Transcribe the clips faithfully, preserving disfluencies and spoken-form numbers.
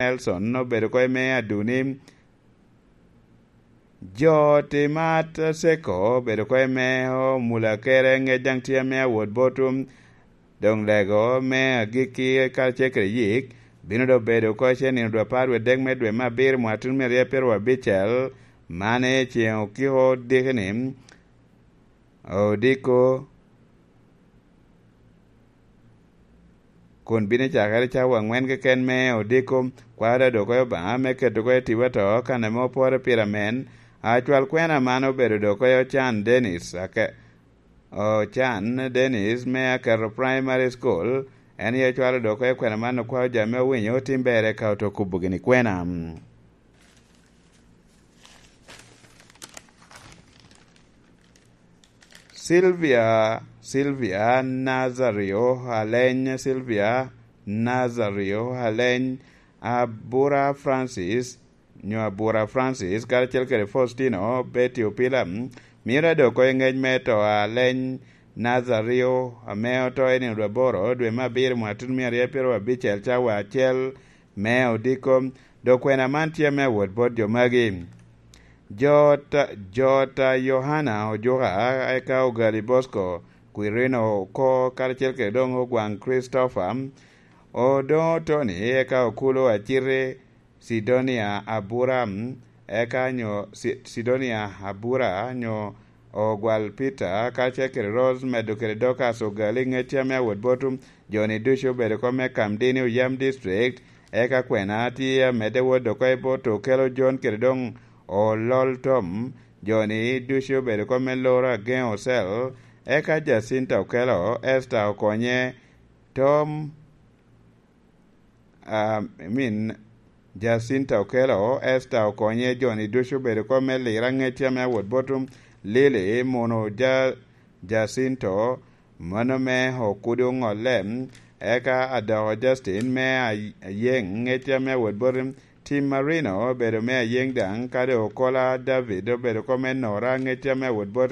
Nelson obedo oko i me Aduni. Jo Timat Seko obedo oko i me Omulakere, Ŋec daŋ tye ame awot bot Doŋ Lego me agikki karacel kede Yik bino doŋ bedo oko i nino dwe apar wie dek me dwe me abiro mwaka tutumia aryo pyeraryo abicel, man i ceŋ okiko odiko-ni, odiko, kun bino cakere cawa aŋwen keken me odiko. Kwaro doŋ oko i Obaŋa me keto oko i tipo ato kan ame opore pire amen. Acwal kwena man obedo doŋ oko i Ocan Dennis, ake-, Ocan Dennis me Aketo Primary School, en aye cwalo doŋ oko i kwena man, okwao jo ame owinyo otim ber eka oto kubo gini kwena. Sylvia, Sylvia Nazario Aleny, Sylvia Nazario Aleny, Abura Francis, nyo Abura Francis, karacel kede Faustino Betty Opila, mio doŋ oko i ŋec me to Aleny Nazario, ame oto i nino dwe aboro dwe me abiro mwaka tutumia aryo pyeraryo abicel cawa acel me odiko. Doŋ kwena man tye ame awot bot jo magi. Jota, Jota Yohana Ojuka, eka Ogali Bosco Quirino oko, karacel kede doŋ Ogwaŋ Christopher, Odoŋo Tony, eka Okulo Aciti, Sidonia Abura, eka nyo Si-, Sidonia Abura, nyo Ogwal Peter, karacel kede Rose, medo kede Dorcas Ogali, Ŋec tye ame awot bot jo-ni ducu obedo oko me Kamdini, Oyam District, eka kwena tye amedde wot oko i bot Okelo John kede doŋ Olol Tom. Jo-ni ducu obedo oko me Loro Ageŋo Cell, eka Jacinta Okelo, Esther Okonye, Tom, ah, I mean, Jacinta Okelo, Esther Okonye, jo-ni ducu obedo oko me Lira, Ŋec tye ame awot bot Lily, Muno Ja-, Jacinto, mano me Okudu Ŋolle, eka Adoko Justin me Ay-, Ayeŋ, Ŋec tye ame awot bot Tim Marino, obedo me Ayeŋ daŋ, kadi Okola David, obedo oko me Nora, Ŋec tye ame awot bot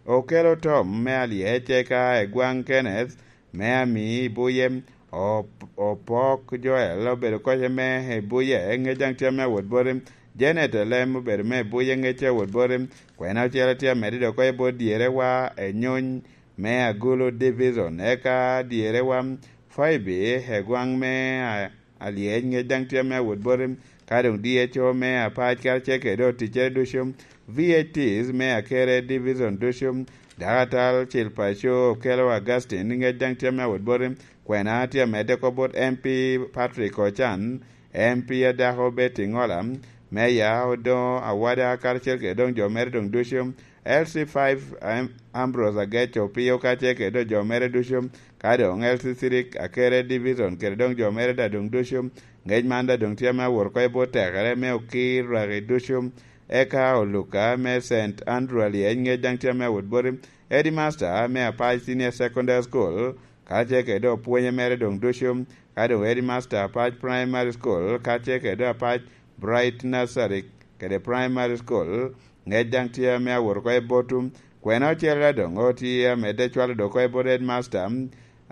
Okelo Tom me Alyec, eka Egwaŋ Kenneth, me ami i buye, Op-, Opok Joel obedo oko i me i buye, Ŋec daŋ tye ame awot boti, Janet Elem obedo me i buye, Ŋec tye awot boti, kwena ocele tye amedde doŋ oko i bot dyerewa Enyony me Agulu Division, eka dyerewa Phoebe Egwaŋ me a-, Alyec, Ŋec daŋ tye ame awot boti, ka doŋ D H O me Apac karacel kede oticcere ducu, V H Ts me Akere Division ducu, Dakatal Cil Paco Okelo Augustine, Ŋec daŋ tye ame awot boti, kwena tye amedde oko bot M P Patrick Ocan, M P adako Betty Ŋola, Meya Odoŋo Awada karacel kede doŋ jo mere doŋ ducu, L C five Am-, Ambrose Agec Opio karacel kede doŋ jo mere ducu, ka doŋ L C three Akere Division kede doŋ jo mere daŋ doŋ ducu. Ŋec man daŋ doŋ tye ame awot oko i bot tekere me okir rwaki ducu, eka Oluka me Saint Andrew Alyec, Ŋec daŋ tye ame awot boti, Headmaster me Apac Senior Secondary School, karacel kede doŋ opwonye mere doŋ ducu, ka doŋ Headmaster Apac Primary School, karacel kede doŋ Apac Bright Nursery kede Primary School, Ŋec daŋ tye ame awot oko i bot Kwena ocele doŋ otye amedde cwalo doŋ oko i bot Headmaster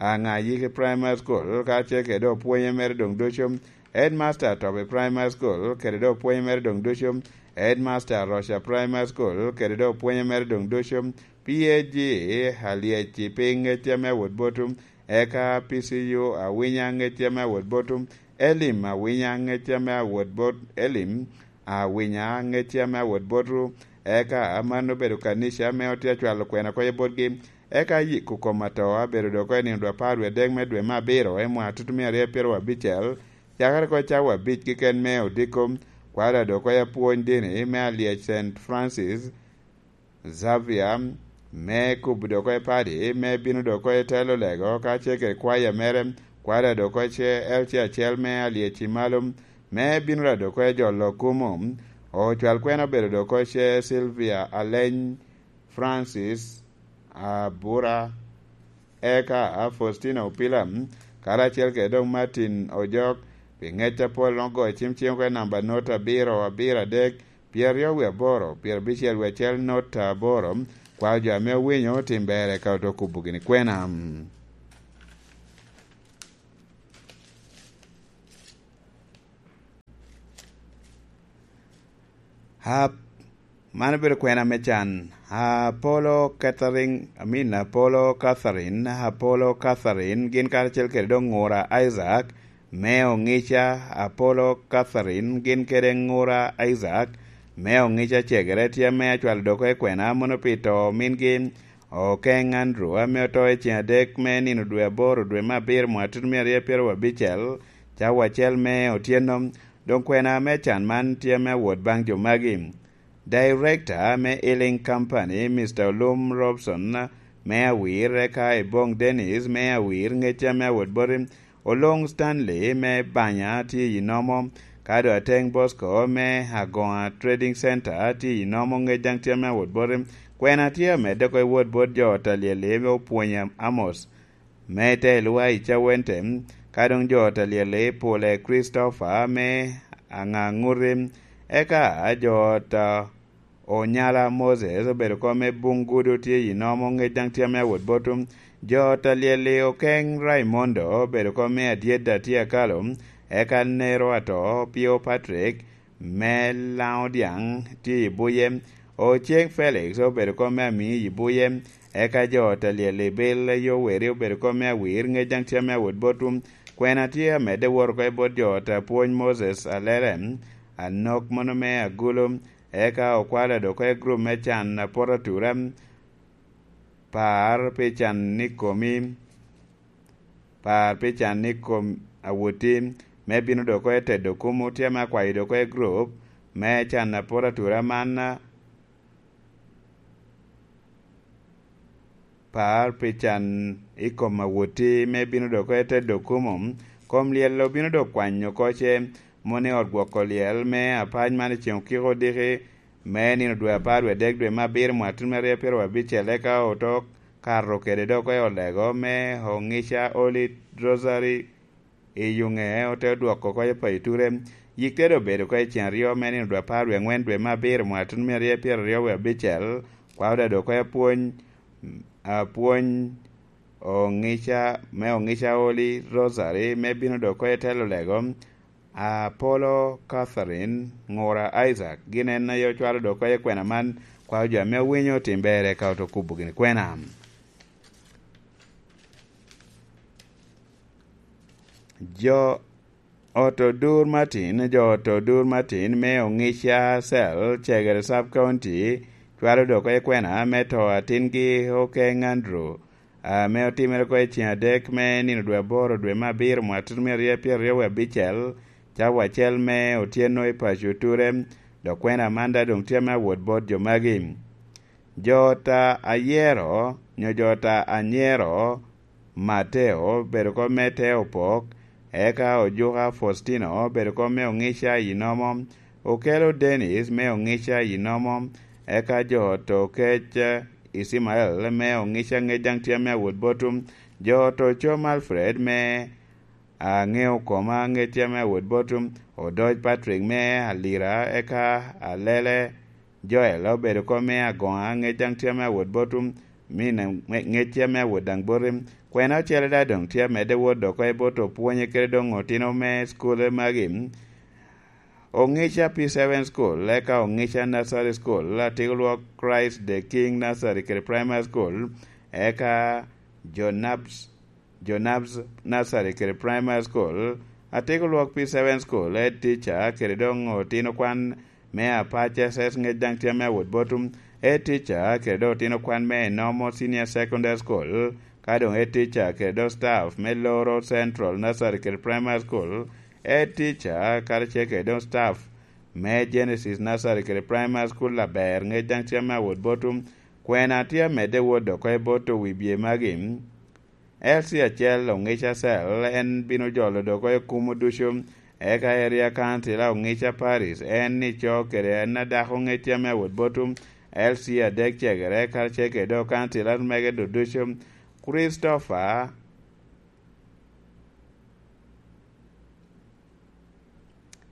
Aŋayiki Primary School, karacel kede doŋ opwonye mere doŋ ducu, Headmaster Tobi Primary School, kede doŋ opwonye mere doŋ ducu, Headmaster Roca Primary School, kede doŋ opwonye mere doŋ ducu, P A G Alyec i piny, Ŋec tye ame awot bot eka P C U Awinya, Ŋec tye ame awot bot Elim Awinya, Ŋec tye ame awot bot Elim Awinya, Ŋec tye ame awot bot eka mano obedo kanica ame otye acwalo kwena oko i botgi, eka yiko kom ato abedo doŋ oko i nino dwe apar wie adek me dwe me abiro i mwaka tutumia aryo pyeraryo abicel, cakere oko i cawa abic keken me odiko, kwalo doŋ oko i apwony dini me Alyec Saint Francis Xavier, me kubo doŋ oko i padi, me bino doŋ oko i telo lego, kacel kede kwaya mere, kwalo doŋ oko i ce-, L C acel me Alyec i malo, me bino doŋ oko i jolo kumo. Ocwal kwena obedo doŋ oko i ce Sylvia Aleny, Francis Abura, eka Faustino Opila, karacel kede doŋ Martin Ojok, pi ŋec apol, ogoyo cim cing oko i namba not abiro abiro adek, pyeraryo wie aboro, pyerabicel wie acel not aboro, kwao jo ame owinyo otim ber eka oto kubo gini kwena. Ap, man obedo kwena me can. Apolo Catherine, I mean, Apolo Catherine, Apolo Catherine, gin karacel kede dok Ngura Isaac, me Oŋica. Apolo Catherine, gin kede Ngura Isaac, me Oŋica cegere, tye ame acwalo dok i kwena mono pi to mingi, Okeng Andrew, ame oto i ceng adek me nino dwe aboro, dwe me abiro, mwaka tutumia aryo pyeraryo abicel, cawa acel me otyeno. Doŋ kwena me can man tye me awot baŋ jo magi. Director me Healing Company, Mister Olum Robson, me Awir, eka Ebong Dennis, me Awir, ŋecca me awot boti, Olong Stanley, me Banya, tye i nomo, ka doŋ Ateng Bosco, me Agoŋa Trading Center, tye i nomo, ŋec daŋ tye me awot boti. Kwena tye amedde oko i wot bot jo ot Alyel-li, me Opwony Amos, me te Elwa i Cawente, ka doŋ jo ot Alyel-li, Pule Christopher, me Aŋaŋuti, eka jo ot, ah, Onyala Moses obedo kom me Bungudu tye i nomo, ŋec daŋ tye me awot botu. Jo ot Alyel-li, Okeng Raimondo obedo kom me Adyedda tye akalo, eka Nero Ato, Pio Patrick, me Laŋo Dyaŋ tye i buye. Oceng Felix obedo kom me Amii i buye, eka jo ot Alyel-li, Bil Yoweri obedo kom me Awir, ŋec daŋ tye me awot botu. Kwena tye amedde wot oko i bot jo ot Apwony Moses Alele, Anok mono me Agulu, eka okwalo dok oko i gurup me can apot atura, par pi can i komi, par pi can i kom awoti, me bino dok oko i tedo kumo, tye ame akwayo dok oko i gurup me can apot atura man, par pi can i kom awoti, me bino dok oko i tedo kumo. Kom lyel obino dok kwanyo oko ce, mono i ot gwoko lyel me apac man i ceng okiko odiki, me nino dwe apar dwe adek dwe me abiro mwaka tutumia aryo pyeraryo abicel, eka oto kato kede dok oko i olego me Oŋica Holy Rosary i Yuŋe, ote dwoko oko i payo ture. Yik te doŋ bedo oko i ceng aryo me nino dwe apar dwe aŋwen dwe me abiro mwaka tutumia aryo pyeraryo wie abicel, kwa oda dok oko i apwony, apwony Oŋica, me Oŋica Holy Rosary, me bino dok oko i telo lego. Apolo Catherine, Ŋura Isaac, gin en aye ocwalo dok oko i kwena man, kwa jo ame owinyo otim berre ka oto kubo gini kwena. Jo ot Odur Martin, jo ot Odur Martin me Oŋica Cell, Cegere Sub County, cwalo dok oko i kwena me to atingi Okeng Andrew, ame otimere oko i ceng adek me nino dwe aboro dwe me abiro mwaka tutumia aryo pyeraryo wie abicel, cawa acel me otyeno i paco Ture, dok kwena man daŋ doŋ tye me awot bot jo magi. Jo ot Ayero, nyo jo ot Anyero, Mateo, bedo oko me Teo Opok, eka Ojuka Faustino, bedo oko me Oŋica i Nomo, Okelo Dennis me Oŋica i Nomo, eka jo ot Okec Icimael me Oŋica, ŋec daŋ tye me awot botu, jo ot Ocom Alfred me Aŋeo Koma, ŋec tye me awot botu, Odoc Patrick me Alira, eka Alele Joel obedo oko me Agoŋa, ŋec daŋ tye me awot botu, mi na-, ŋe-, ŋec tye me awot daŋ boti. Kwena ocele daŋ doŋ tye amedde wot dok oko i bot opwonye kede doŋ otino me cukule magi. Oŋica P seven School, eka Oŋica Nursery School, Atiko Lwok Christ the King Nursery kede Primary School, eka Jonabs, Jonabs Nursery kede Primary School, Atiko Lwok P seven School, Head Teacher kede doŋ otino kwan me Apac S S, ŋec daŋ tye me awot botu, Head Teacher kede doŋ otino kwan me Enomo Senior Secondary School, ka doŋ Head Teacher kede doŋ staff me Loro Central Nursery kede Primary School, Head Teacher karacel kede doŋ staff me Genesis Nursery kede Primary School aber, ŋec daŋ tye me awot botu. Kwena tye amedde wot dok oko i bot owibye magi. L C acel Oŋica Cell, en bino jolo dok oko i kumo ducu, eka Area Council a Oŋica Parish, en ico kede en adako, ŋec tye me awot botu. L C adek cegere karacel kede doŋ councillors mege ducu, Christopher.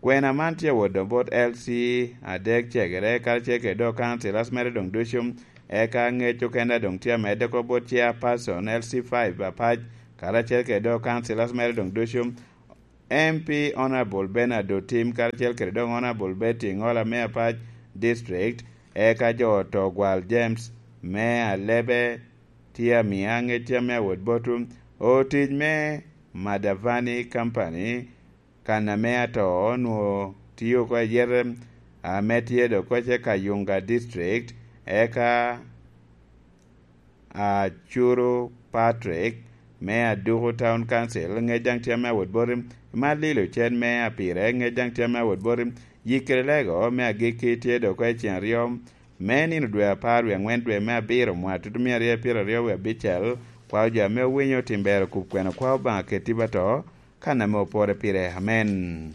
Kwena man tye awot doŋ bot L C adek cegere karacel kede doŋ councillors mere doŋ ducu, eka ŋec okene doŋ tye amedde oko bot chairperson L C five Apac, karacel kede doŋ councillors mere doŋ ducu, M P Honorable Bernard Otim karacel kede doŋ Honorable Betty Ŋola me Apac, District, eka jo oto gwal James me Alebe tye amia ŋecca me awot boto, otic me Madavani Company, kan ame ato onwoŋo tio oko ayete ame tye dok koce Kayunga District, eka Acuru Patrick me Aduku Town Council, ŋec daŋ tye ame awot boti, Malilo Cen me Apire, ŋec daŋ tye ame awot boti, Yikere Lego me Agikki tye dok oko i ceng aryo me nino dwe apar wie aŋwen dwe me abiro mwaka tutumia aryo pyeraryo wie abicel, kwao jo ame owinyo tim ber okub kwena kwao Obaŋa keti bato, kan ame opore pire. Amen.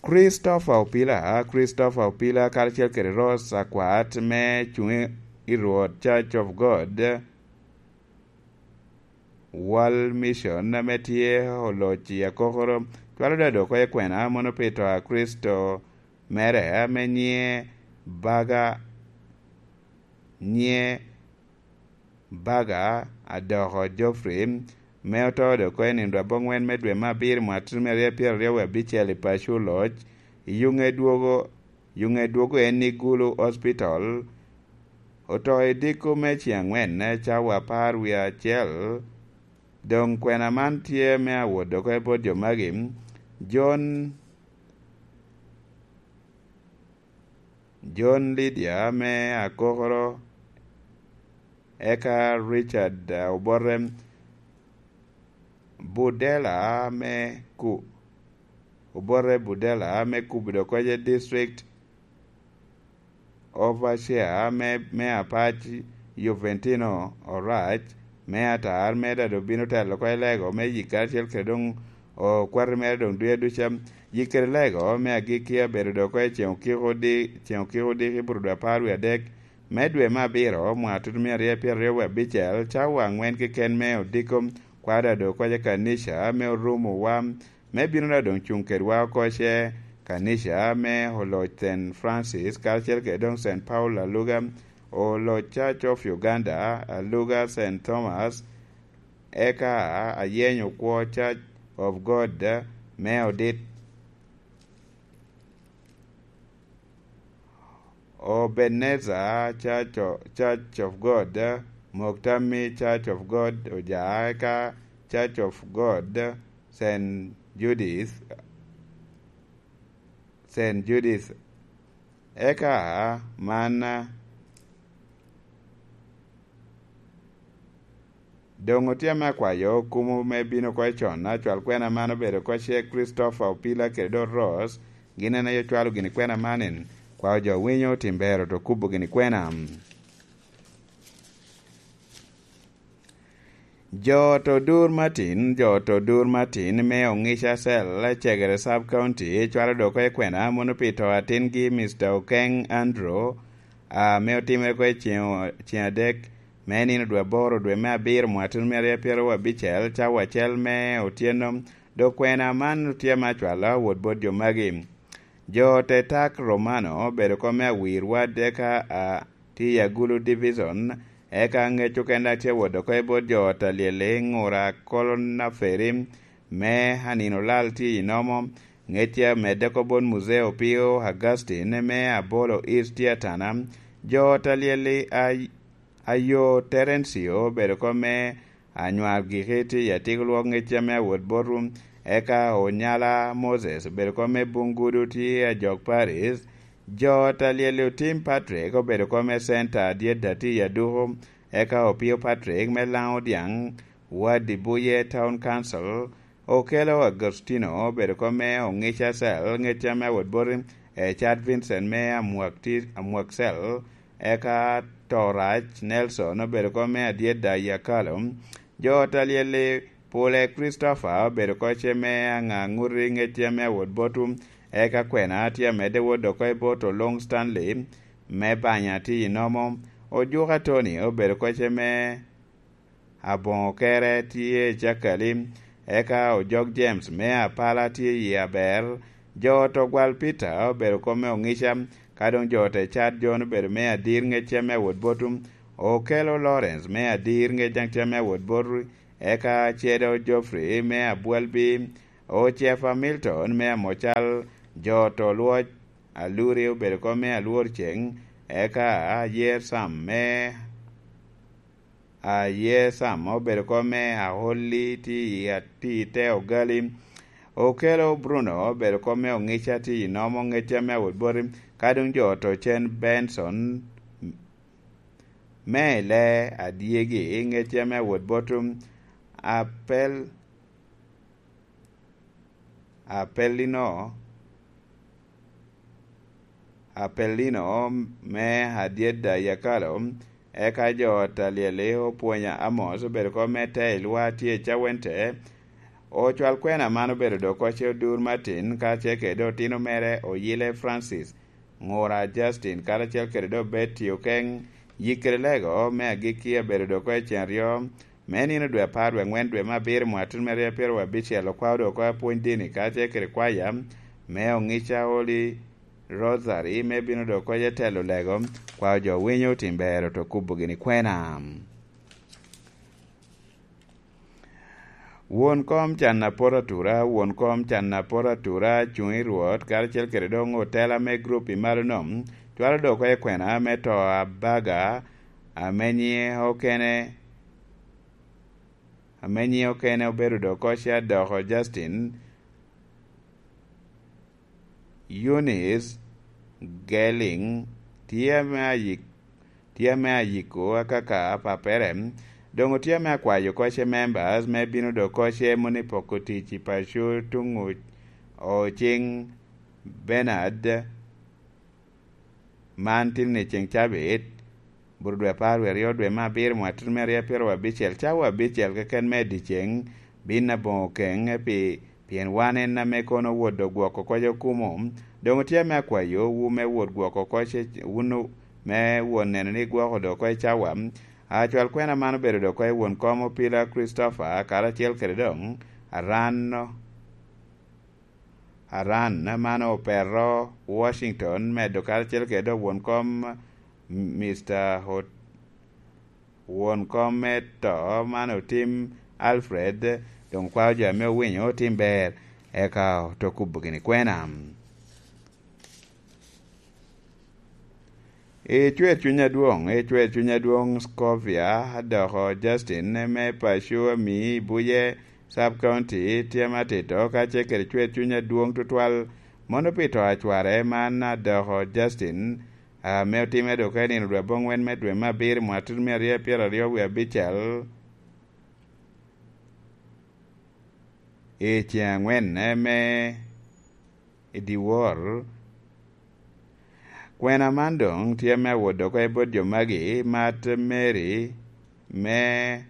Christopher Opila, Christopher Opila karacel kede Rose Akwat me cuŋ i Rwot Church of God World Mission ame tye oloc i Akokoro, cwalo dado oko i kwena mono pi to a Kricito mere ame nyiŋe Baga, nyiŋe Baga Adoko Geoffrey, me oto dok oko i nino dwe aboŋwen me dwe me abiro mwaka tutumia aryo pyeraryo wie abicel i paco oloc, i yuŋe dwogo, yuŋe dwogo en i Gulu Hospital, oto i diko me ceŋ aŋwen cawa apar wie acel. Doŋ kwena man tye me awot dok oko i bot jo magi, John John Lydia me Akokoro, eka Richard, uh, Obote Budela me Ku-, Obote Budela me Kubdo Koce District, Overseer me, me Apac Juventino Orac, me Atar, me Dado bino telo oko i Lego me Yik karacel kede doŋ okwati mere doŋ duya duca. Yik kede Lego me Agikki abedo dok oko i ceŋ okiko di-, ceŋ okiko odiki i Buto dwe apar wie adek me dwe me abiro, mwaka tutumia aryo pyeraryo wie abicel, cawa aŋwen keken me odiko, kwada dok oko i kanica me orumo wa, me bino na doŋ cuŋ kedwa oko ce, kanica me oloc Saint Francis karacel kede doŋ Saint Paul Aluga, oloc Church of Uganda Aluga Saint Thomas, eka ayenyo kwo Church of God me odit Obeneza Church of, Church of God, Moktammi Church of God, Ojaa, eka Church of God, Saint Judith, Saint Judith. Eka man doŋ otye ame akwayo kumo me bino oko i con, acwal kwena man obedo oko ce Christopher Opila kede Dot Ross, gin en aye ocwalo gini kwena man en, kwao jo winyo tim bero to kubo gini kwena. Jo to dur matin, jo to dur matin me Ongica Cell, Cegere Sub County, cwalo dok oko i kwena mono pi to atingi Mister Okeng Andrew, ame otimere oko i ceŋ, ceŋ adek me nino dwe aboro dwe me abiro mwaka tutumia aryo pyeraryo abicel, cawa acel me otyeno. Dok kwena man tye ame acwalo awot bot jo magi. Jo te tak Romano obedo oko me awir wad eka a tye i Agulu Division, eka ŋec okene tye awot oko i bot jo ot alyel i Ŋura Kolonaferi me Anino Lal tye i Nomo, ŋec tye amedde oko bot Muzeo Opio Augustine me Abolo East tye Atana, jo ot alyel i Ay-, Ayo Terencio obedo oko me Anywar Giki tye i Atik Lwok ŋec ame awot botwu, eka Onyala Moses obedo oko me Bungudu tye i Ajok Paris, jo ot alyel i Otim Patrick obedo oko me Center Adyet tye i Aduku, eka Opio Patrick me Laŋo Dyaŋ, Wadi Buye Town Council, Okelo Agostino obedo oko me Ongica Cell, ŋec ame awot boti, Ecad Vincent me Amwak Ti-, Amwak Cell, eka Torac Nelson obedo oko me Adyet Dayi Akalo, jo ot alyel-li Pule Christopher obedo oko ce me Aŋaŋuti ŋec ame awot botwu, eka kwena tye amedde wot dok oko i bot Oluŋ Stanley me Banya tye i Nomo, Ojuka Tony obedo oko ce me Aboŋo Kere tye i Cakali, eka Ojok James me Apala tye i Aber, jo ot Ogwal Peter obedo oko me Ongica, ka doŋ jo ot Ecad John obedo me Adir ŋec ame awot botwu, Okelo Lawrence me Adir ŋec daŋ tye ame awot botwu, eka Cedo Geoffrey me Abwalbi, Ocefa Milton me Amocal, jo ot Olwoc, Aluri obedo kop me Alwor Ceng, eka Ayer Sam me Ayer Sam obedo kop me Aholi tye i ati te ogali. Okelo Bruno obedo kop me Ongica tye i nomo Ngecca me Awot Boti, ka dong jo oto cen Benson me le adyegi Ngecca me Awot Boti. Apel Apelino, Apelino me Adyeda Yakalo, eka jo ot alyel-li opwonyo Amos obedo kop me te i lwa tye i Cawente. Ocwal kwena man obedo dok kocce Odur Martin, ka ce kede otino mere Oyile Francis, Ngura Justin, karacel kede dok Betty Okeng, yik kede lego me agikki abedo dok kocce cen aryo, me nino dwe apar dwe angwen dwe me abiro mwaka tutumere pyeraryo abicel, okwao dok oko apwony dini karacel kede kwaya me Ongica Holy Rosary me bino dok oko i telo lego, kwao jo winyo tim ber oto kubo gini kwena. Won kom can apot atura, won kom can apot atura, cuŋ i Rwot, karacel kede doŋ otela me grup i malo nom, cwalo dok oko i kwena me to abaga, ame nyiŋe okene, ame nyiŋe okene obedo dok kocce adoko Justin, Eunice Gelling tye ame ayik-, tye ame ayiko akaka pappere, doŋ otye ame akwayo kocce members me bino dok kocce moni poko tic i paco tuŋ Ocing Bernard. Man tin ni ceŋ cabit, bur dwe apar wie aryo dwe me abiro mwaka tutumere pyeraryo abicel, cawa abicel keken me dyeceŋ, bin aboŋo keŋ pi, pien wan en ame kono owodo gwoko kocce okumo. Doŋ otye ame akwayo wu me wot gwoko kocce, wun o-, me wot neno ni gwoko dok oko i cawa. Acwal kwena man obedo dok oko i won kom Opila Christopher, karacel kede doŋ Aran Aran man opero Washington, medo karacel kede dok won kom Mister Hot-, won kom me to man otim Alfred, doŋ kwao jo ame owinyo otim ber, eka oto kubo gini kwena. I cwer cuny adwoŋ, i cwer cuny adwoŋ Scovia, doko Justin me paco ami i Buye Sub County tye ma tito, ka ce kede cwer cuny adwoŋ tutwal, mono pi to acware man adoko Justin, ame otimme dok i nino dwe aboŋwen me dwe me abiro mwaka tutumere aryo pyeraryo wie abicel. I ceŋ angwen me i dyewor. Kwena man doŋ tye me awot dok oko i bot jo magi, Mat Mary me,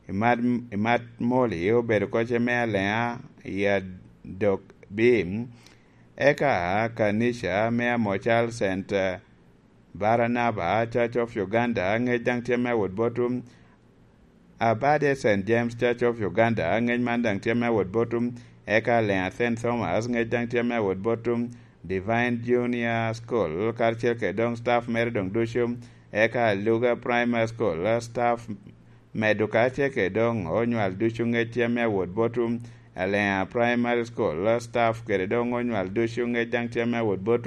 i Mat, i Mat Moli obedo kocce me Aleŋa i adok bim, eka kanica me Amocal Center Baranaba Church of Uganda, ŋec daŋ tye me awot bot Abade Saint James Church of Uganda, ŋec man daŋ tye me awot bot, eka Leŋa Saint Thomas, ŋec daŋ tye me awot bot, Divine Junior School, karacel kede doŋ staff mere doŋ ducu, eka Luga Primary School, staff medo karacel kede doŋ onywal ducu ŋec tye me awot bot, Leŋa Primary School, staff kede doŋ onywal ducu ŋec daŋ tye me awot bot,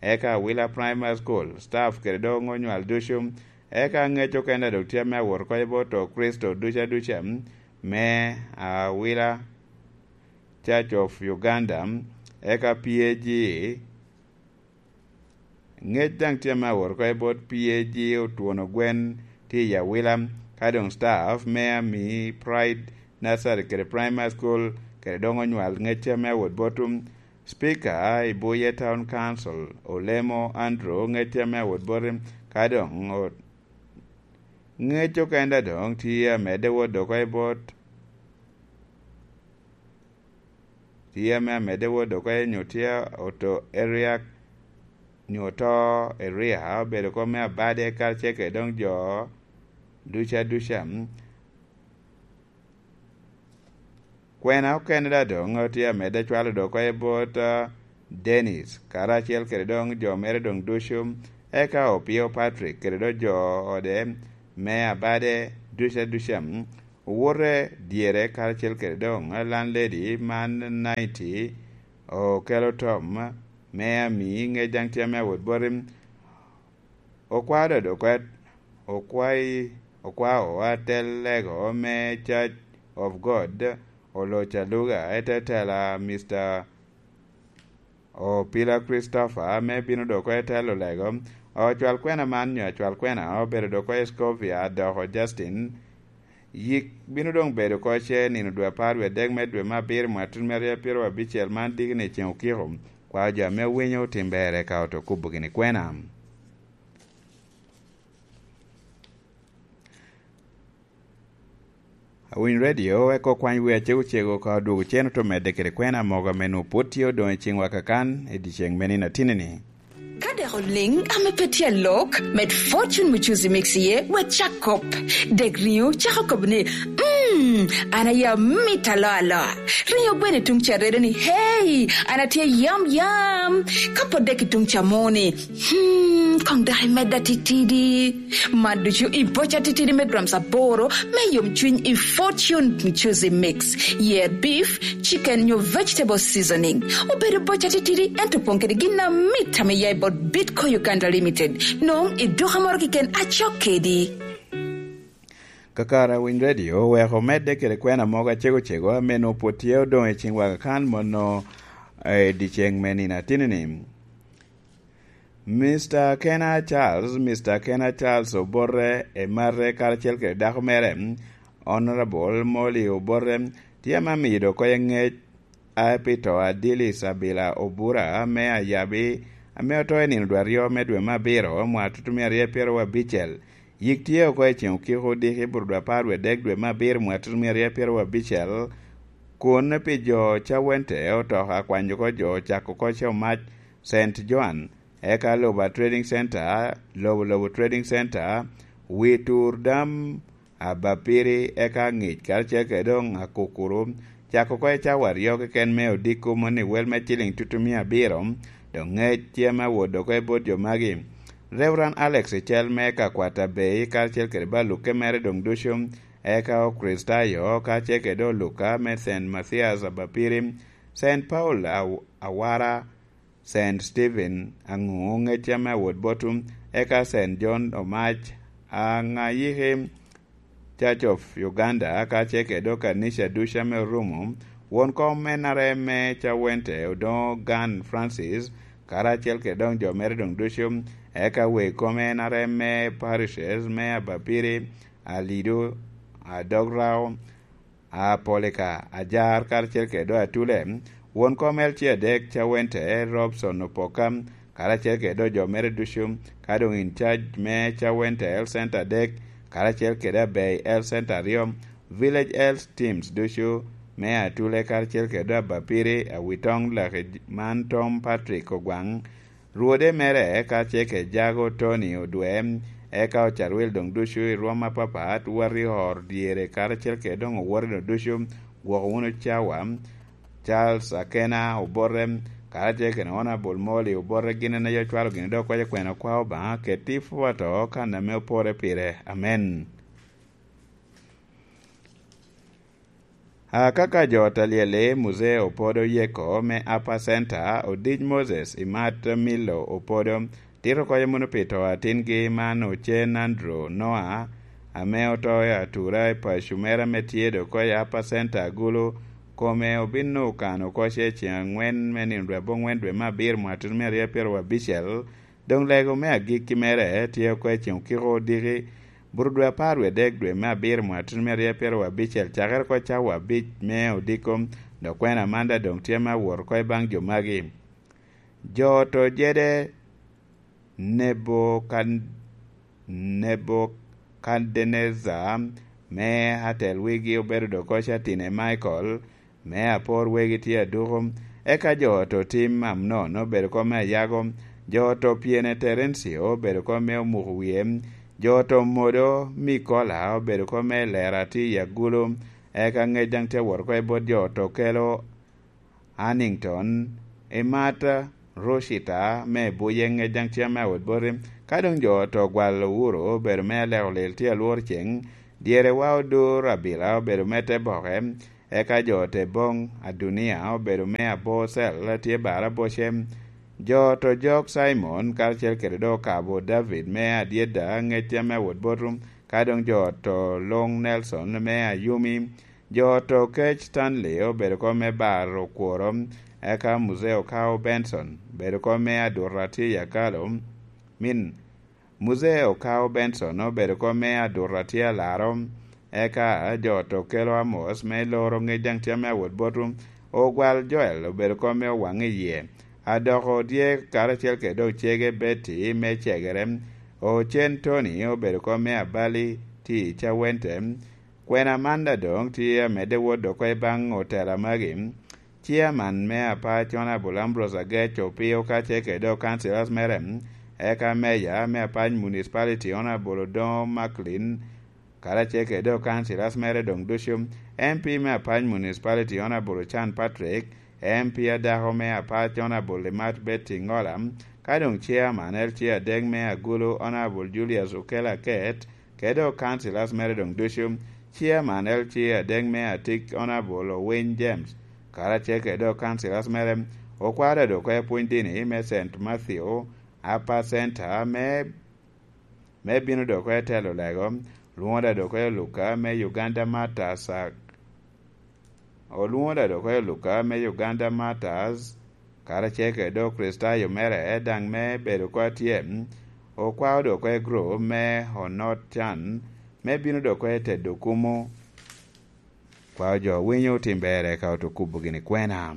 eka Awila Primary School, staff kede doŋ onywal ducu, eka ŋec okene dok tye me awot oko i bot Okricito ducu aduca me Awila Church of Uganda, eka P A G. Ŋec daŋ tye me awot oko i bot P A G Otwono Gwen tye i Awila, ka doŋ staff me Ami Pride Nursery kede Primary School, kede doŋ onywal ŋec tye me awot bot Speaker i Buye Town Council, Olemo Andrew, ŋec tye me awot bot, ka doŋ o-, ŋec okene doŋ tye amedde wot dok oko i bot, tye ame amedde wot dok oko i nyo tye oto area, nyo oto area, obedo kop me Abade karacel kede doŋ jo duca duca. Kwena okene daŋ doŋ otye amedde cwalo dok oko i bot, ah, Dennis, karacel kede doŋ jo mere doŋ ducu, eka Opio Patrick kede doŋ jo ode me Abade duca duca, owote dyere karacel kede doŋ landlady man ninety okelo tom me ami ŋec daŋ tye ame awot boti. Okwao dodo kwet, okwai, okwao atel lego me Church of God, oloc aluga, ete tela Mister Opila Christopher, ame bino doko i telo lego. Ocwal kwena man, nyo acwal kwena, obedo doko i Scovia, doko Justin. Yik bino doŋ bedo oko ce nino dwe apar wie adek me dwe me abiro, mwaka tutumia aryo pyero abicel, man diki ni ceŋ okiko. Kwao jo ame owinyo otim ber, eka oto kubo gini kwena. Awiny redio, eko kwany wi acego cego ka odwogo cen oto medde kede kwena mogo ame nwoŋo pwod tye odoŋ i ciŋwa kakan i dyeceŋ me nino atini-ni. Ka dek oliŋ ame pe tye alok, med Fortune Muchuzi Mix iye, wek cak kop. Dek riŋo cako kobo ni, "Mm, an aye amito aloa aloa." Riŋo gweno i tuŋ ca redo ni, "Hey, an atye yam yam." Ka pwod dek i tuŋ ca moni, "Hmm, koŋ dok imedda titidi." Man ducu i boca titidi me grams aboro me yomcwiny i Fortune Muchuzi Mix. Yer beef, chicken nyo vegetable seasoning. Obedo boca titidi, ento opoŋ kede gin amit ame ya i bot Bitco Uganda Limited. Nwoŋo i duka moro keken acok kedi. Kakare Winy Radio oweko omedde kede kwena mogo acego cego ame nwoŋo pwod tye odoŋ i ciŋ waka kan mono, eh, i dyeceŋ me nino atini-ni. Mister Kena Charles, Mister Kena Charles Obote Emate karacel kede dako mere, Honorable Molly Obote, tye ame amiyo dok koye ŋec a pi to a Dillis Abila Obura ame ayabi, ame oto i nino dwe aryo me dwe me abiro, mwaka tutumia aryo pyeraryo abicel. Yik tye oko i ceŋ okiko odiki bur dwe apar wie dek dwe me abiro, mwaka tutumia aryo pyeraryo abicel, kun pi jo Cawente oto akwanyo oko jo ocako oko ce omac Saint Joan, eka Loba Trading Center, Lobo Lobo Trading Center, Witur Dam, Abapiri, eka Ŋic, karacel kede doŋ Akukuru, cako oko i cawa aryo keken me odiko moni wel me ciliŋ tutumia abiro, doŋ ŋec tye ame awot oko i bot jo magi. Reverend Alex Icel me ka Kwata Bay, karacel kede balukke mere doŋ ducu, eka Okricitayo, karacel kede oluka me Saint Mathias Abapiri, Saint Paul Aw-, Awara, Saint Stephen Aŋu, ŋec ame awot botu, eka Saint John Omac, Aŋayiki, Church of Uganda, kacel kede okanisha ducu ame orumo, won kom en are me Cawente Odoŋo Gan Francis, karacel kede doŋ jo mere doŋ ducu, eka wek kom en are me parishes me Abapiri, Alido, Adograo, Apolika, Ajar, karacel kede doŋ Atule, won kom L C adek, Cawente Robson Opoka, karacel kede doŋ jo mere ducu, ka doŋ in charge me Cawente Health Center adek, karacel kede Abei Health Center aryo, Village Health Teams ducu me Atule, karacel kede doŋ Abapiri, Awitoŋ, Laki man Tom Patrick Ogwaŋ, Rwode mere, ka ce kede Jago Tony Odwe, eka Ocarwil doŋ ducu i rwom apapat, wot i oro dyere, karacel kede doŋ owote doŋ ducu, gwoko wunu cawa. Charles Akena Obote, karacel kede Honorable Molly Obote, gin en aye ocwalo gini dok kwaco kwena kwa Obaŋa, keti i pwoto kan ame opore pire. Amen. Akaka jo ot alyel-li, Muzee Opodo Yeko me Upper Center, Odic Moses Imat Milo Opodo, tito koyo munu pi to atingi man Ocen Andrew Noah, ame oto i atura i paco mere ame tye dok koyo i Upper Center agulu, kome obino kano oko ce ceŋ angwen me nino dwe aboŋwen dwe me abiro mwaka tutumia aryo pyeraryo abicel, Doŋ lego me agikki mere tye oko i ceŋ okiko odiki, bur dwe apar wie dek dwe me abiro mwaka tutumia aryo pyeraryo abicel, cakere oko cawa abic me odiko, dok kwena man daŋ doŋ tye me awot oko i baŋ jo magi. Jo oto jede Nebokan-, Nebukadnecar me atel wigi obedo dok oko Catine Michael, me apor wegi tye aduko. Eka jo oto tim Amnon obedo kom me ayago, jo oto pyene Terencio obedo kom me omuko wie, jo oto modo Mikola obedo kom me lera tye i agulu, eka ŋec daŋ tye awot oko i bot jo oto kelo Hannington, Emata, Rochita me buye ŋec daŋ tye me awot boti. Ka doŋ jo oto gwalo wuro obedo me aleko lil tye alwor ceŋ, dyere wa odur abila obedo me te boke, Eka jo te boŋ Adunia obedo me abocel, tye bara bocem. Jo to jok Cimon karacel kede dok okabo David me adyeda, ŋec ame awot botum, ka doŋ jo to luŋ Nelson me ayumi. Jo to kec Stanley obedo kom me baro kworo, eka Muzee Okao Benson obedo kom me aduto atye i akalo. Min Muzee Okao Benson obedo kom me aduto atye alaro, eka jo to kelo Amos me loro ŋec daŋ tye ame awot botu. Ogwal Joel obedo kom me owaŋ i yie. Adoko Odyek karacel kede dok cege Betty me cegere. Ocen Tony obedo kom me abali tye i cawente. Kwena Amanda doŋ tye amedde wot dok oko i baŋ otela magi. Ciaman me apac Honorable Ambrose Agec Opio kacel kede dok councillors mere, eka meya me apac municipality Honorable Odongo Macklin, karacel kede dok councillors mere doŋ ducu, M P me apac municipality Honorable Ochan Patrick, M P adako me apac Honorable Limat Betty Ngola, ka doŋ chairman L C A adek me Agulu Honorable Julius Okello Aket, kede dok councillors mere doŋ ducu, chairman L C A adek me Atik Honorable Owiny James, karacel kede dok councillors mere, okwaro dok oko pwony dini me Saint Matthew Upper Center me, me bino dok oko telo lego, lwoŋo dok oko Luka me Uganda Martyrs, olwoŋo dok oko Luka me Uganda Martyrs, karacel kede dok Kricitayo mere daŋ me bedo oko atye, okwao dok oko i gurup me Onot Can me bino dok oko tedo kumo. Kwao jo winyo tim berre ka oto kubo gini kwena.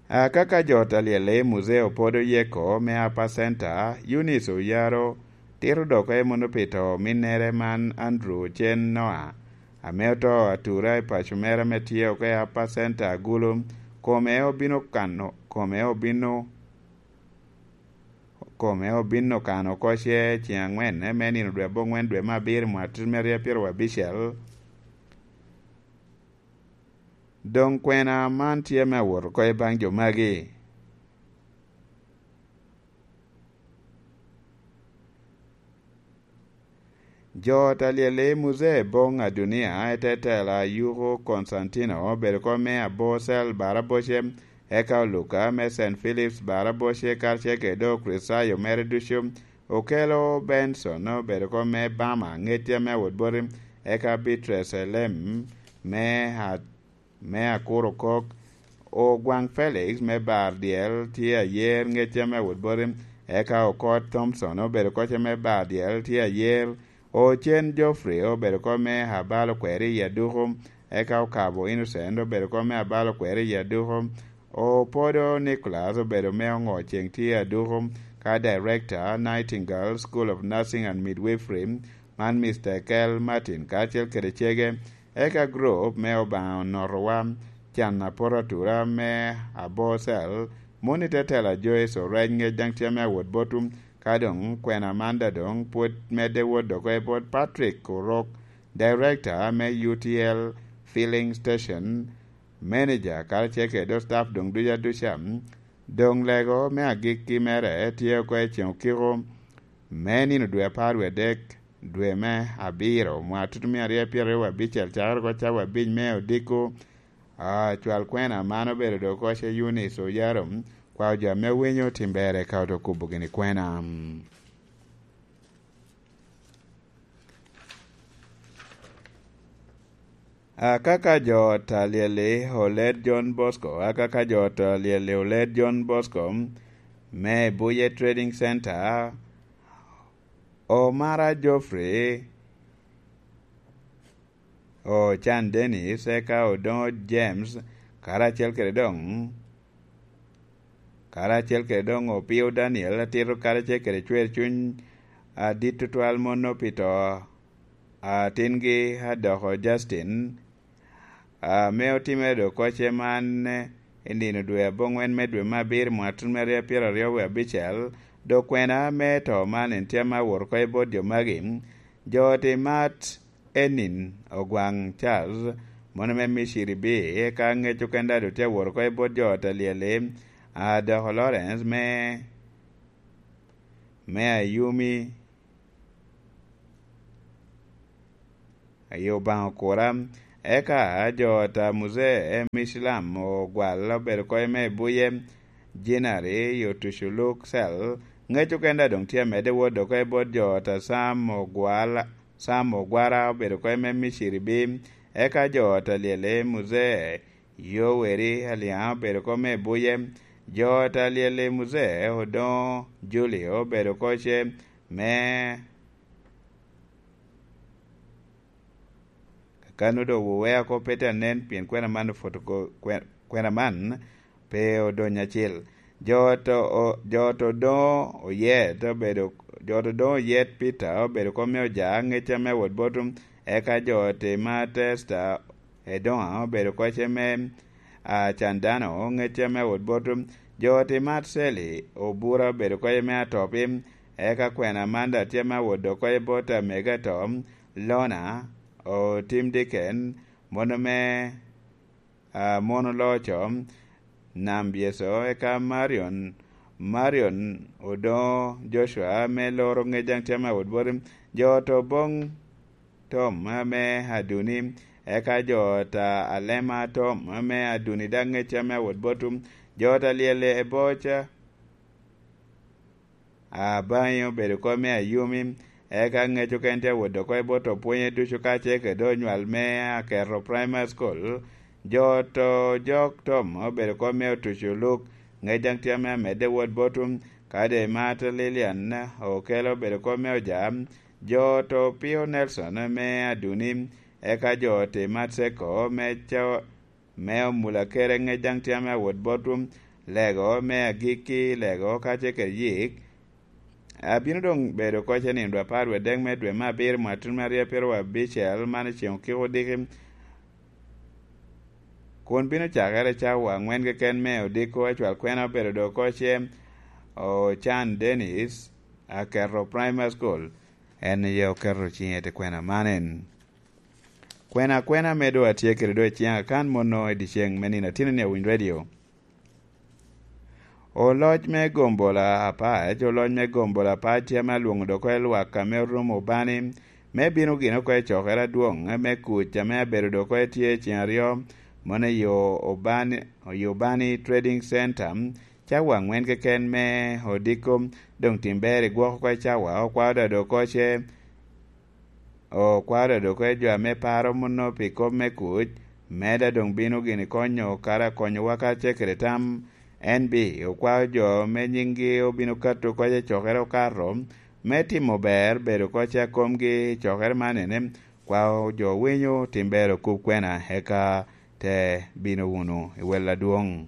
Akaka jo talyel i Muzee Opodo Yeko me Upper Center, Eunice Oyaro, tito dok oko i muno pi to ominnere man Andrew Ocen Noah, ame oto atura i paco mere ame tye oko i Upper Center Agulu, kome obino kano, kome obino, kome obino kano oko ce ceŋ angwen me nino dwe abongwen dwe me abiro mwaka atit me aryo pyeraryo abicel. Doŋ kwena man tye me awot oko i baŋ jo magi. Jo talyel i Muzee Boŋ Adunia, etetela Yuko Konstantino, obedo kom me abocel baraboce, eka Oluka me Saint Philip's baraboce, karacel kede dok Kricitayo mere ducu, Okello Benson, obedo kom me Bama, ŋecce me awot boti, eka Beatrice Elem me a-, me Akuru Kok, Ogwaŋ Felix me Bar Dyel tye ayer, ŋecce me awot boti, eka Okot Thompson obedo kocce me Bar Dyel tye ayer, Ocen Geoffrey obedo kom me Abalo Kweri i Aduku, eka Okabo Innocent obedo kom me Abalo Kweri i Aduku, Opodo Nicholas obedo me Oŋo Ceŋ tye i Aduku, ka Director Nightingale School of Nursing and Midwifery, man Mister Kel Martin karacel kede cege, eka gurup me Obaŋa Onotowa, can apoto atura me Abocel, moni te tela Joyce Orec ŋec daŋ tye me awot botum, ka doŋ kwena Amanda doŋ pwod medde wot dok oko i bot Patrick Orok, Director me U T L Filling Station, Manager karacel kede dok staff doŋ ducu aduca. Doŋ lego me agikki mere tye oko i ceŋ okiko me nino dwe apar wie adek, dwe me abiro, mwaka tutumia aryo pyeraryo wie abicel, cakere oko cawa abic me odiko. Ah, cwal kwena man obedo dok oko ce Eunice Oyaro, kwao jo ame winyo tim berre ka oto kubo gini kwena. Akaka jo talyel i Olet John Bosco, akaka jo talyel i Olet John Bosco me Buye Trading Center, Omara Geoffrey, Ocan Dennis, eka Odongo James, karacel kede doŋ, karacel kede doŋ Opio Daniel, atito karacel kede cwer cuny adit tutwal mono pi to atingi adoko Justin, ame otimere dok kocce man i nino dwe aboŋwen me dwe me abiro mwaka tun me aryo pyeraryo wie abicel, dok kwena me to man en tye ame awot oko i bot jo magi, jo oti mat Enin Ogwaŋ Charles, mono me Miciri B, eka ŋec okene daŋ tye awot oko i bot jo ot alyel-li, a doko Lawrence me, me Ayumi, i Obaŋa okura. Eka jo ot a Muzee me Icilam ogwal obedo kɔc me Buye, Jinari, Yotuculuk Cel, ŋec okene daŋ doŋ tye amedde wot dok i bot jo ot a Sam Ogwala, Sam Ogwara obedo kɔc me Miciri bi, eka jo ot a Lyeli Muzee, Yoweri Aliaŋ obedo kɔc me Buye, jo ot a Lyeli Muzee Odoŋo Julio obedo kɔc me Kakano doŋ wuwea kop pe te anen, pien kwena man opwoto ko-, kwe-, kwena man pe odonyo acil. Jo to, o-, jo to doŋ oyet obedo, jo to doŋ oyet Peter obedo kop me Oja, ŋec ame wot bot, eka jo Timatesta Edoŋa obedo kɔc me, a, Candano, ŋec ame wot bot, jo Timatseli Obura obedo kɔc me Atopi, eka kwena man daŋ tye me wot dok kɔc bot amego ato, Lona, otim diken, mono me, a, mono loco, Nam Byeco, eka Marion, Marion Odoŋo Joshua me loro ŋec daŋ tye me wot bot, jo to boŋ Tom ame Aduni, eka jo ta Alema Tom ame Aduni daŋ ŋec ame wot bot, jo ta Lyeli Eboca, Abaŋi obedo kop me Ayumi, eka ŋec okene tye awot dok oko i bot opwonye ducu kacel kede onywal me Aketo Primary School. Jo to Jok Tom obedo kop me Otuco Luk, ŋec daŋ tye ame amedde wot bot, kadi Martha Lilian Okelo obedo kop me Oja, jo to Pio Nelson me Aduni, eka jo Timat Seko me Ca-, me Omula Kere ŋec daŋ tye ame awot bot, Lego me Agikki, Lego kacel kede Yik. Abino doŋ bedo kɔc i nino dwe apar wie adek me dwe me abiro mwatun me aryo pyero abicel, man i ceŋ okiko odiki, kun bino cakere cawa aŋwen keken me odiko. Acwal kwena obedo doŋ kɔc i Ocan Dennis, Aketo Primary School. En aye oketo ciŋe i kwena man en. Kwena akwena ame doŋ atye kede doŋ i ciŋa kan mono i dyeceŋ me nino atino ni awiny redio. Oloc me gombola apac, oloc me gombola apac tye ame alwoŋo doŋ oko i lwak ame orumo Obani, me bino gin oko i cokere adwoŋ me kuc ame abedo doŋ oko tye i ceŋ aryo, mono i yo Obani, i Obani Trading Center, cawa aŋwen keken me odiko, doŋ tim ber igwok oko i cawa, okwao da doŋ oko ce, okwao da doŋ oko i jo ame paro mono pi kop me kuc, me da doŋ bino gini konyo kara konyowa kacel kede tam. N B okwao jo me nyiŋgi obino kato oko i cokere okato, me timo ber bedo oko ce a komgi i cokere man ene, kwao jo winyo tim ber okub kwena, eka te bino wunu i wel adwoŋ.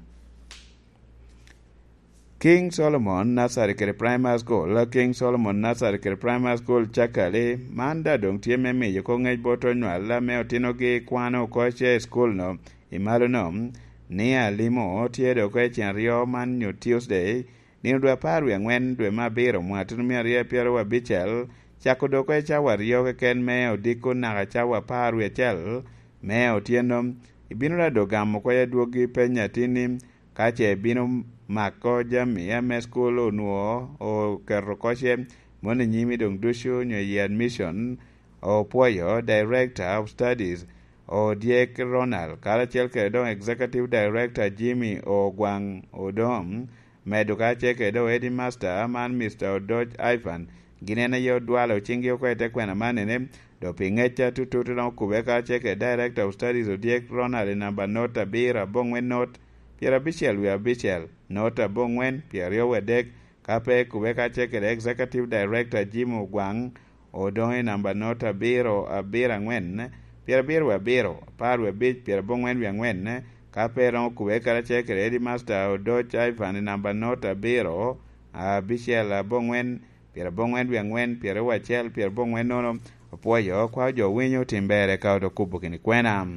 King Solomon Nursery kede Primary School, King Solomon Nursery kede Primary School Cakali, man da doŋ tye me miyo oko ŋec bot onywal ame otinogi kwano oko ce i school-no i malo-no, ni alimo tye doŋ oko i ceŋ aryo man nyo Tuesday, nino dwe apar wie aŋwen dwe me abiro mwaka tutumia aryo pyero abicel, cako doŋ oko i cawa aryo keken me odiko naka cawa apar wie acel me otyeno. Ibino da doŋ gamo oko i adwoggi peny atini, ka ce bino mako jami ame school onwoŋo oketo oko ce, mono i nyimi doŋ ducu nyo i admission, opwoyo Director of Studies, Odyek Ronald, karacel kede doŋ Executive Director Jimmy Ogwaŋ Odom, medo kacel kede doŋ Headmaster man Mister Odoc Ivan, gin en aye odwalo ciŋgi oko i te kwena man ene, doŋ pi ŋec atutut doŋ okube kacel kede Director of Studies Odyek Ronald i namba not abiro aboŋwen not pyerabicel wie abicel, not aboŋwen pyeraryo wie adek, ka pe okube kacel kede Executive Director Jim Ogwaŋ, Odongo i namba not abiro abiro aŋwen, pyerabiro wie abiro, apar wie abic, pyeraboŋwen wie aŋwen, ka pe romo okube karacel kede Headmaster Odoc Ivan i namba not abiro abicel aboŋwen, pyeraboŋwen wie aŋwen, pyeraryo acel, pyeraboŋwen nono, opwoyo, kwao jo winyo tim ber eka odo kubo gini kwena.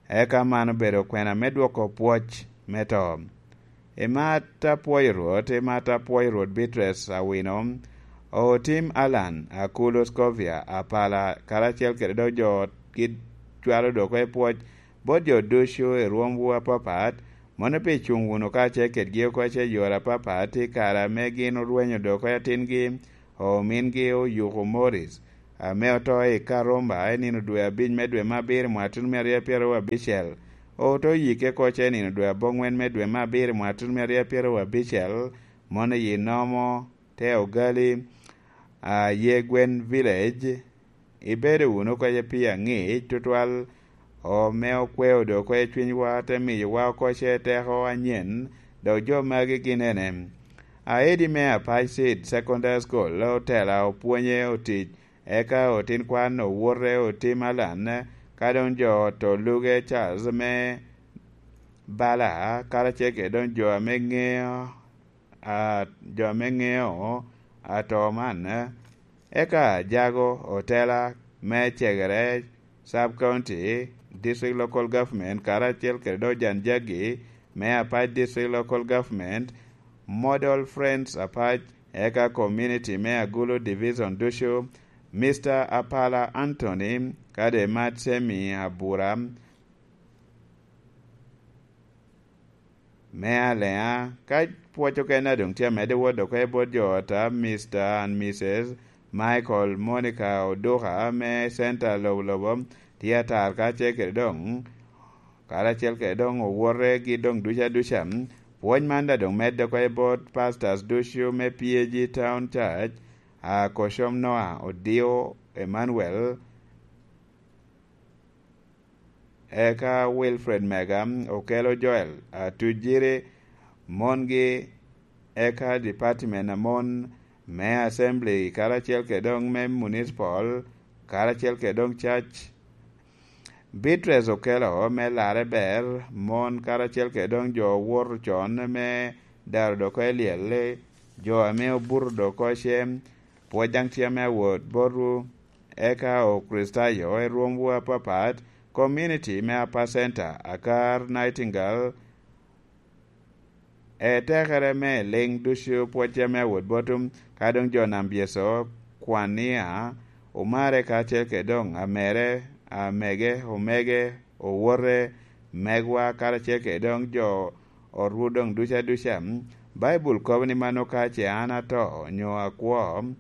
Eka man obedo kwena me dwoko pwoc me to. Imat apwoyo Rwot, imat apwoyo Rwot Beatrice Awino, otim Alan, Akulo Scovia, Apala, karacel kede dok jo otgi cwalo dok i pwoc bot jo ducu i rwomwu apapat, mono pi cuŋ wunu kacel kedgi oko i yore apapat i kare ame gin orwenyo dok i atingi, omingi Oyuko Morris, ame oto i Karumba i nino dwe abic me dwe me abiro i mwaka tutumia aryo pyeraryo abicel, oto yikke oko i nino dwe aboŋwen me dwe me abiro i mwaka tutumia aryo pyeraryo abicel, mono i Nomo, te Ogali, a Yegwen Village. Ibedo wunu oko pi aŋic tutwal, ome okweo do oko cwinywa, te miyowa oko teko anyen, dok jo magi gin ene: Aedi me Apac Seed Secondary School, otela opwonye otic, eka otin kwan owote otim alan, ka doŋ jo ot oluge Charles me Bala, karacel kede doŋ jo ame ŋeo, a, jo ame ŋeo ato man, eka Jago, otela me Cegere Sub County District Local Government, karacel kede doŋ Jan Jagi me Apac District Local Government, Model Friends Apac, eka community me Agulu Division ducu, Mister Apala Anthony, kade Matsemi Abura me Aleŋa. Ka pwoc okene a doŋ tye amedde wot oko i bot jo ota, Mister and Missus Michael Monica Oduka me Center Lobo Lobo, tye atar kacel kede doŋ, karacel kede doŋ owote gi doŋ duca duca. Pwony man daŋ doŋ medde oko i bot pastors ducu me P A G Town Church, a Koshom Noah Odio Emmanuel, eka Wilfred Mega, Okelo Joel, Atujiri, mongi, eka department amon me Assembly, karacel kede doŋ me Municipal, karacel kede doŋ Church. Beatrice Okelo me Larre Ber, mon karacel kede doŋ jo owoto con me daro doko i lyel, jo ame obuto doko ce, pwod daŋ tye ame awot botwu, eka Okricitayo i rwomwu apapat, community me Upper Center, Akar Nightingale, etekere me liŋ ducu pwod tye ame awot botwu, ka doŋ jo nam byeco, Kwania, Omare kacel kede doŋ Amere, Amege, Omege, Owote, Megwa, karacel kede doŋ jo otwu doŋ duca duca. Baibul kobo ni mano ka ce an ato, onyo akwo,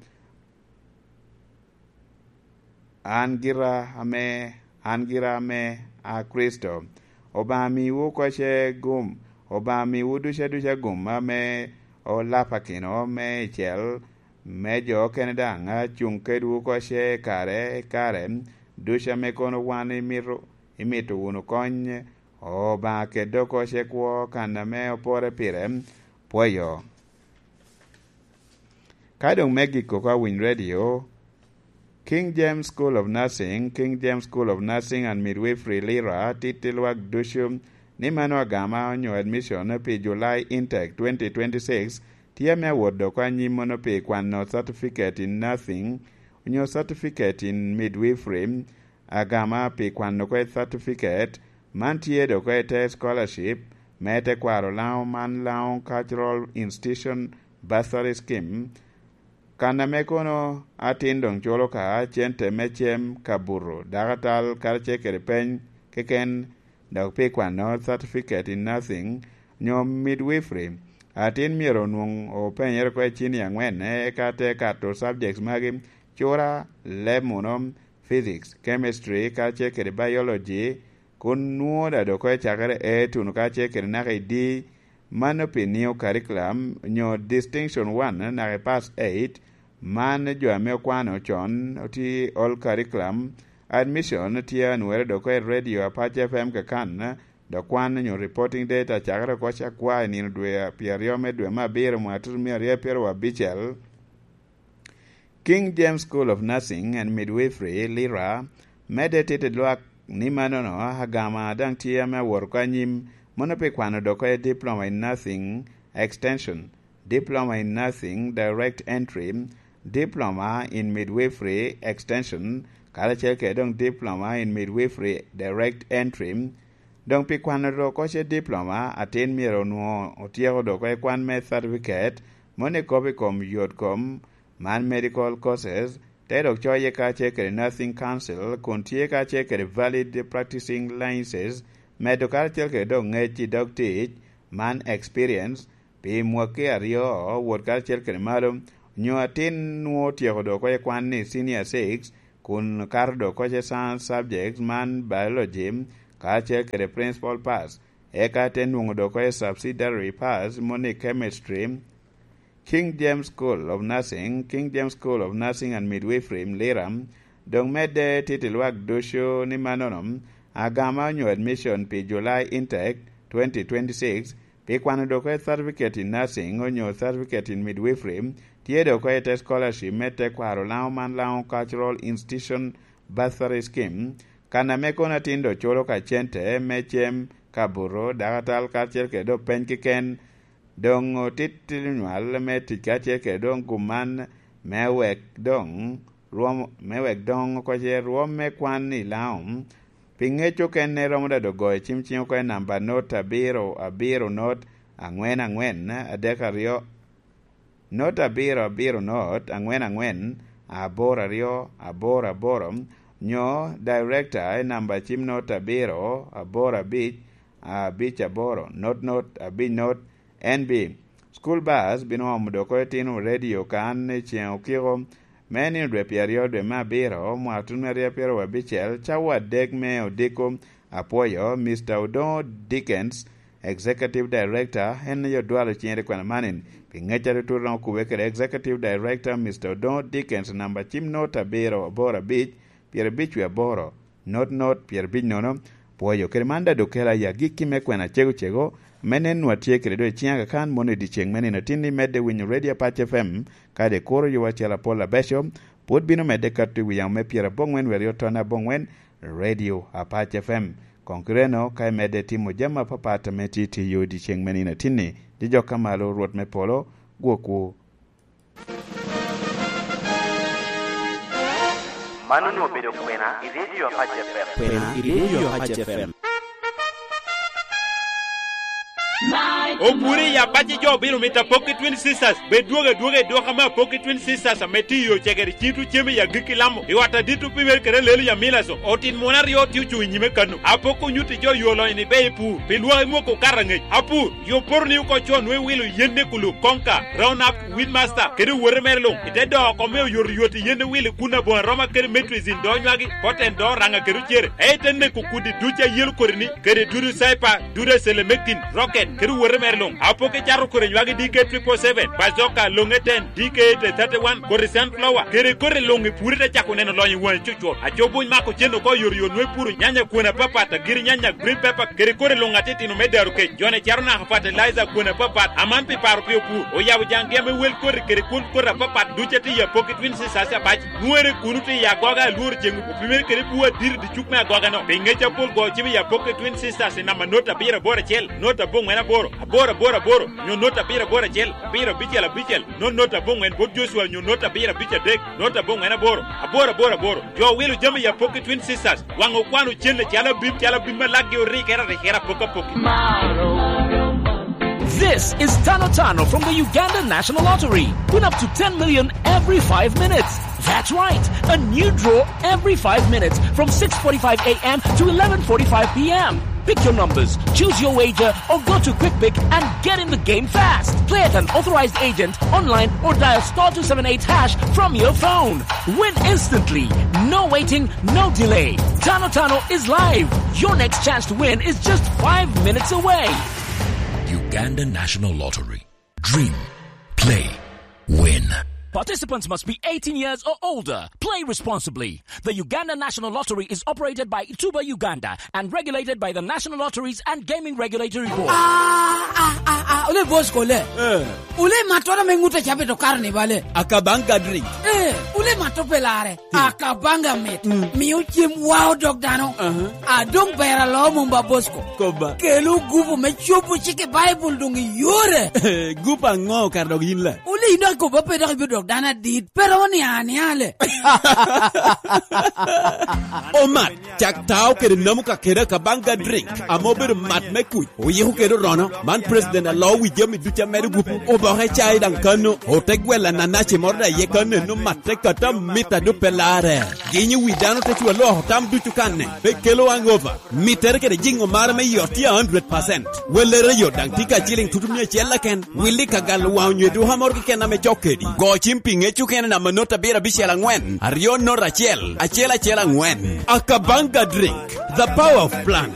an gira ame, an gira ame a Kricito. Obaŋa miwu oko ce gum, Obaŋa miwu duca duca gum ame olapakino me icel, me jo okene daŋ a cuŋ kedwu oko ce i kare i kare ducu ame kono wan imito, imito wunu kony. Obaŋa kede oko ce kwo kan ame opore pire. Pwoyo. Ka doŋ me giko ka winy redio, King James School of Nursing, King James School of Nursing and Midwifery, Lira, titti lwak ducu ni mano agama onyo admission pi July Intake twenty twenty-six tye ame awot doko anyim mono pi kwano Certificate in Nursing onyo Certificate in Midwifery, agama pi kwano kwe Certificate. Man tye doko i te scholarship me tekwaro Laŋo man, Laŋo Cultural Institution Bursary Scheme, kan ame kono atin doŋ culo ka cente me cem, kabuto, dakatal, karacel kede peny keken, dok pi kwano Certificate in Nursing nyo Midwifery. Atin myero onwoŋ openyere oko i cini aŋwen, eka te kato subjects magi: cura, leb muno, physics, chemistry, karacel kede biology, kun nwoŋo daŋ dok oko i cakere A tuno karacel kede naka i D, mano pi New Curriculum, nyo Distinction One naka i Pass Eight. Man jo ame okwano con, oti Old Curriculum. Admission tye anwere dok oko i Radio Apac F M kakan, dok kwan onyo reporting date acakere oko cakwa i nino dwe pyeraryo me dwe me abiro mwaka tutumia aryo pyeraryo abicel. King James School of Nursing and Midwifery, Lira, medde tito lwak ni manono agama daŋ tye ame awot oko anyim, mono pi kwano doko i Diploma in Nursing Extension, Diploma in Nursing Direct Entry, Diploma in Midwifery Extension, karacel kede doŋ Diploma in Midwifery Direct Entry. Doŋ pi kwano doko ce Diploma, atin myero onwoŋo otyeko doko i kwan me Certificate, mono i kop i kom yot kom, man medical courses, te dok coye kacel kede Nursing Council, kun tye kacel kede valid practicing licenses, medo karacel kede dok ŋec i dog tic, man experience, pi mwaki aryo wot karacel kede malo, nyo atin nwoŋo otyeko dok oko i kwan i Senior Six, kun kato dok oko ce science subject man biology, kacel kede principal pass, eka te nwoŋo dok oko i subsidiary pass moni chemistry. King James School of Nursing, King James School of Nursing and Midwifery, Lira, doŋ medde titi lwak ducu ni mannono, agama onyo admission pi July intake twenty twenty-six, pi kwano dok oko i certificate in nursing onyo certificate in midwifery, tye dok oko i te scholarship me tekwaro Laŋo man Laŋo Cultural Institution Bursary Scheme, kan ame kono atin dok culo ka cente me cem, kabuto, dakatal, kacel kede dok peny keken, doŋ otit nywal me tic kacel kede doŋ gum man, me wek doŋ rwom, me wek doŋ oko ce rwom me kwan i Laŋo. Pi ŋec okene romo daŋ doŋ goyo cim ciŋ oko i namba not abiro abiro not aŋwen aŋwen adek aryo, not abiro abiro not aŋwen aŋwen aboro aryo aboro aboro, nyo director i namba cim not abiro aboro abic abic aboro not not abic not. N B, school bus bino omo dok oko i tino radio kan i ceŋ okiko me nino dwe pyeraryo dwe me abiro, mwaka tutumia aryo pyeraryo abicel, cawa adek me odiko. Apwoyo Mister Odoŋo Dickens, Executive Director, en aye odwalo ciŋe i kwena manin. Pi ŋec atutut romo kubbe kede Executive Director, Mister Odoŋo Dickens, namba cim not abiro aboro abic, pyerabic wie aboro, not not pyerabic nono. Pwoyo kede man daŋ dok kela i agikki me kwena cego cego, me nen nwa tye kede doŋ i ciŋ agakan mono i dyeceŋ me nino atin ni medde winyo Radio Apac F M, kadi kuro yowa acel apol abeco, pwod bino medde kato i wi yamo me pyeraboŋwen wie aryo tonne aboŋwen, Radio Apac F M. Koŋ kireno ka imedde timo jami apapat ame tye tiyo i dyeceŋ me nino atin ni, jijok ka malo Rwot me polo gwokwu. Man onwoŋo obedo kwena i Radio Apac F M. Kwena i Radio Apac F M. Obure i abaci jo obino mito apok i Twin Sisters. Bed dwogo adwoga i dwoko ame apok i Twin Sisters ame tye i yo cegere cito cem i agikki lamo. I ot adit opimere kede alelo i Amilaso. Otin muno aryo tye ocuŋ i nyime kano. Apok onyutti jo yo lonyo ni be i pur. Pi lwak imoko okato aŋec. Apur, yo poto ni oko co nwe wilo yen ne kulu konka, round up, Weedmaster, kede owote mere luŋ, i te doko oko me oyotoyot i yen ewil i kun aboŋo aroma kede metrizin do nywagi, poten do raŋa kede ocere, ei te neko kudi duc a yelo kodi-ni, kede dudu caipa, dudu acelemekin, rocket, kede owote mere luŋ. Apok icato kodi nywagi D K triple seven, bazoka, loŋe ten, D K eight thirty-one, kodi sunflower, kede kodi luŋ i puri te cako neno lonyo i waŋi cucwot. Aco buny mako cen oko oyotoyot nwe puro nyanya kwene apapat, agiri nyanya, green pepper, kede kodi luŋ atitino me daro kec. Jone caro naka fertilizer kwene apapat, aman pi paro pi opur. Oyabo jaŋgi ame wel koti kede kwon koti apapat duc atye i apoki Twin Sisters abac. Nwoŋere kuno tye i agoga alworo ceŋ opimere kede bwo adiri dicuk me agoga-no. Pi ŋec apol go cim i apoki Twin Sisters i namba not abiro aboro acel, not aboŋwen aboro, aboro aboro aboro, nyo not abiro aboro acel, abiro abicel abicel, not not aboŋwen bot Joshua nyo not abiro abic adek, not aboŋwen aboro, aboro aboro aboro. Jo wilo jami i apoki Twin Sisters, waŋ okwano cen calo abim, calo abim ma lakgi orikere arikere apok apoki. This is Tano Tano from the Uganda National Lottery. Win up to ten million every five minutes. That's right, a new draw every five minutes from six forty-five a m to eleven forty-five p m. Pick your numbers, choose your wager, or go to Quick Pick and get in the game fast. Play at an authorized agent, online, or dial star two seven eight hash from your phone. Win instantly. No waiting, no delay. Tano Tano is live. Your next chance to win is just five minutes away. Uganda National Lottery. Dream. Play. Win. Participants must be eighteen years or older. Play responsibly. The Uganda National Lottery is operated by Tuba Uganda and regulated by the National Lotteries and Gaming Regulatory Board. Ah, ah, ah, ah, ole boss kole. Eh. Ole matoro me ŋute cabe to karo ni bale. Akabanga drink. Eh, ole mato pelare. Hmm. Akabanga mit. Hmm. Miyo cem wao dog dano. Aha. Adong bera lo mumba boss ko. Koba. Kelo gupu me cobo cike Bible dong iyore. Gupu aŋo kar dog yin la? Ole ino akobo pe dok ibe dog dano adit. Pero ni ani ale. Omat, cak tao kede namu ka kede Akabanga drink, ame obedo mat me kuc, oyiko kede orono. Man president alo wi jami ducu amedo gupu, oboke cai daŋ kano, ote gwela nanaci moro daŋ ye kano eno mat te kata mita do pe lare. Ginyo wi dano te cwa loko tam ducu kanne, pe kelo hangover. Mittere kede jiŋo mare me yot tye a hundred percent. Wellere yot daŋ tye ka ciliŋ tutu mia acel keken. Willi ka galo waŋ onyo eduka moro keken ame cok kedi. Go Pi ŋec okene namba not abiro abicel angwen, aryo not acel, acel acel angwen. Akabanga drink, the power of plant.